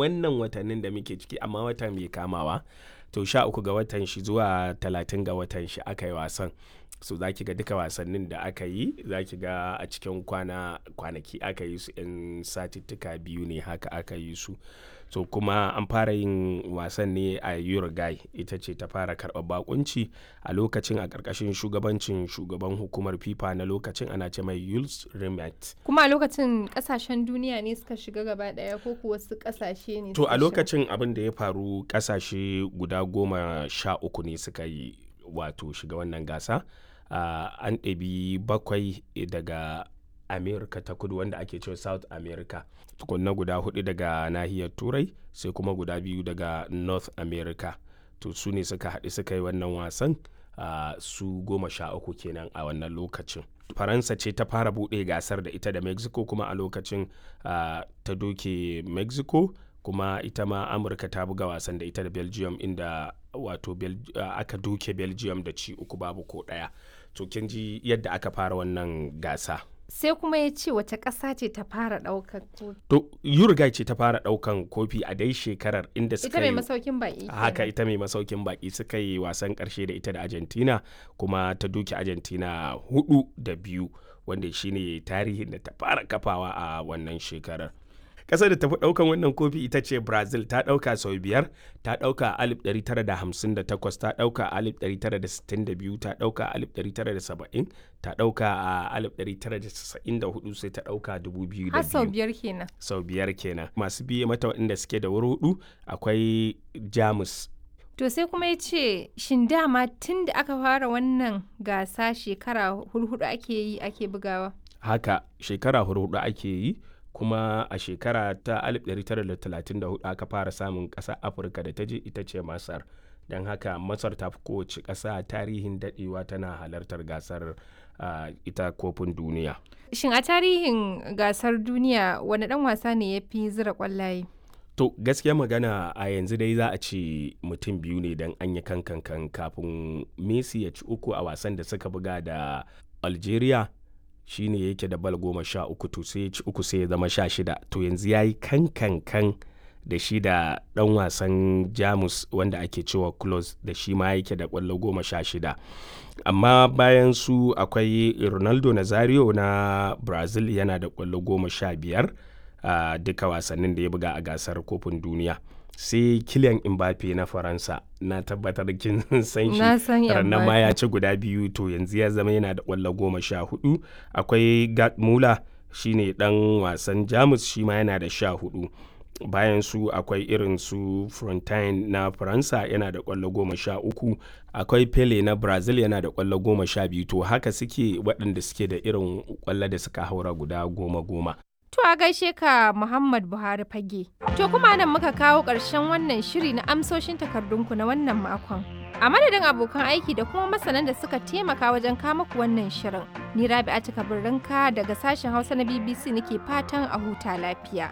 Wannan watannin da muke ciki amma wata mai kamawa to 13 ga watan shi zuwa 30 ga watan shi aka yi wasan. So za ki ga duka wasannin da aka yi za ki ga a cikin kwana kwanaki aka yi su 'yan satittika biyu ne haka aka yi su. So kuma an fara yin wasan ne a Uruguay, ita ce ta fara karɓar baƙunci a lokacin a ƙarƙashin shugabancin shugaban hukumar FIFA na lokacin ana ce mai Jules Rimet. Kuma a lokacin ƙasashen duniya ne suka shiga gaba ɗaya ko kuwa wasu ƙasashe ne To suka a shiga? lokacin abin da ya faru ƙasashe guda 13 ne suka yi wato shiga wannan gasa. Ah, an ɗebi bakwai daga America ta kudu wanda ake cewa South America. Tukunna guda huɗu daga nahiyar Turai sai kuma guda biyu daga North America. To su ne suka haɗu suka yi wannan wasan, ah, su 13 kenan a wannan lokacin. Faransa ce ta fara buɗe gasar da ita da Mexico kuma a lokacin, ah, ta doke Mexico kuma ita ma Amurka ta buga wasan da ita da Belgium inda wato aka doke Belgium da ci uku babu ko ɗaya. To kin ji yadda aka fara wannan gasa. Sai kuma ya ce wace ƙasa ce ta fara ɗaukar kofi? To Uruguay ce ta fara ɗaukan kofi a dai shekarar inda Ita suka mai yi masaukin baƙi haka kenan. ita mai masaukin baƙi suka yi wasan ƙarshe da ita da Argentina kuma ta doke Argentina 4 da 2 wanda shine tarihin da ta fara kafawa a wannan shekarar. Ƙasar da ta fi ɗaukan wannan kofi ita ce Brazil, ta ɗauka sau biyar, ta ɗauka a 1958, ta ɗauka a 1962, ta ɗauka a 1970, ta ɗauka a 1994 sai ta ɗauka 2002. Har sau biyar kenan. Sau biyar kenan. Masu biye mata waɗanda suke da wuri huɗu akwai Jamus. To sai kuma ya ce shin dama tun da aka fara wannan gasa shekara hurhuɗu ake yi ake bugawa? Haka shekara hurhuɗu ake yi kuma a shekara ta 1934 aka fara samun ƙasa Afirka da ta je ita ce Masar. Don haka Masar ta fi kowace ƙasa tarihin daɗewa tana halartar gasar, ah, ita kofin duniya. Shin a tarihin gasar duniya wane ɗan wasa ne ya fi zira ƙwallaye? To gaskiya magana a yanzu dai za a ce mutum biyu ne don an yi kankan kafin Messi ya ci uku a wasan da suka buga da Algeria shine yake da bal 13, to sai ya ci uku sai ya zama 16, to yanzu ya yi kankankan da shi da ɗan wasan Jamus wanda ake cewa Klose da shi ma yake da ƙwallo 16. Amma bayan su akwai Ronaldo Nazario na Brazil yana da ƙwallo 15 a duka wasannin da ya buga a gasar kofin duniya. Sai Kylian Mbappe na Faransa, na tabbatar kin san shi. Na san Rannan ma Mbappe. ya ci guda biyu, to yanzu ya zama yana da ƙwallo 14. Akwai Gerd Müller shine ɗan wasan Jamus shi ma yana da 14. Bayan su akwai irin su Frontine na Faransa yana da ƙwallo 13. Akwai Pele na Brazil yana da ƙwallo 12, to haka suke waɗanda suke da irin ƙwallo da suka haura guda goma goma. To a gaishe ka Muhammad Buhari Fage. To kuma nan muka kawo ƙarshen wannan shiri na amsoshin takardunku na wannan makon. A madadin abokan aiki da kuma masanan da suka taimaka wajen kama ku wannan shirin. Ni Rabi'a Kabirrinka daga sashen Hausa na BBC nake fatan a huta lafiya.